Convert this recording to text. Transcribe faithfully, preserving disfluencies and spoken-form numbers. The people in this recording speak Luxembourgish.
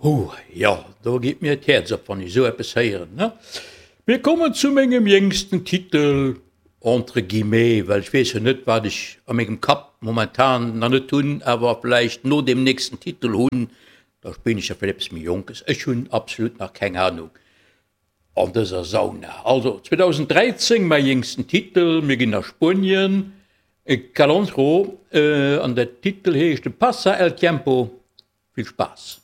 Huh, jo, do geet mir d'Häerz op, wann ech esou eppes héieren, ne? Mir kommen zu mengem jéngsten Titel, entre guillemets, well ech weess jo net, wat ech a mengem Kapp momentan nach net hunn, awer vläicht no deem nächsten Titel hunn, da spillen ech jo vläicht eppes méi Jonkes. Ech hunn absolut nach keng Anung an dëser Sauna. Also, zweedausenddräizéng, mäi jéngsten Titel, mir ginn a Spuenien, Caloncho, an der Titel heescht Pasa el tiempo. Vill Spaass!